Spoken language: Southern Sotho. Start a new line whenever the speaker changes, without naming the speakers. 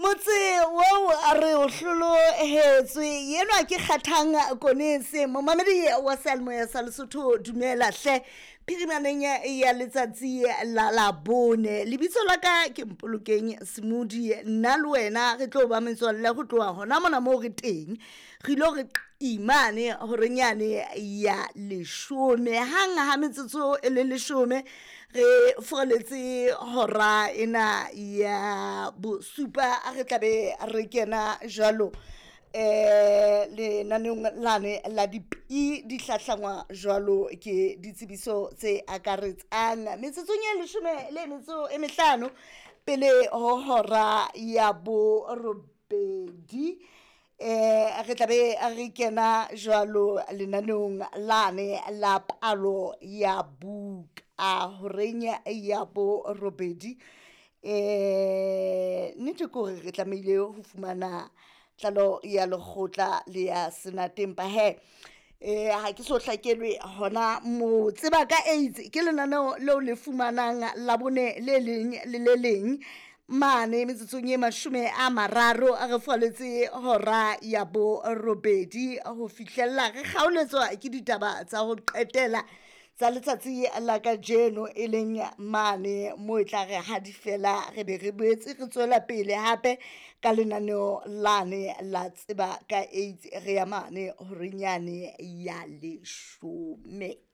Motse oo a re o hlolohetswe yenwa ke Kgathang Konese, momamedi wa seyalemoya sa Lesotho. Dumela hle, phirimaneng ya letsatsi la Labone. Lebitso la ka ke Mpolokeng Semodi. Nna le wena re tlo ba metswalle go tloha hona mona moo re teng. Re ilo re imane horenyane ya 10, hang ha metsotso e le 10 re foroletse hora ena ya bosupa, re tlabe re kena jwalo lenaneong lane la dipi di hlahlangwa jwalo ke ditsebiso tse akaretsang. Metsotsong e 15 pele ho hora ya borobedi, re tlabe re kena jwalo lenaneong lane la palo ya buka horeng ya borobedi. Nnete ke hore re tlamehile ho fumana tlalo ya lekgotla le ya senate, empa he ha ke so hlakelwe hona mo. Tseba ka AIDS ke lenaneo leo le fumanang Labone le leng le le leng mane metsotsong e 30 a re faletse hora ya borobedi ho fihlella re kgaoletswa ke ditaba tsa ho qetela tsa letsatsi la kajeno, e leng mane mo e tla re ha di fela re be re boetse re tswela pele hape ka lenaneo lane la tseba ka AIDS. Re ya mane horenyane ya 10.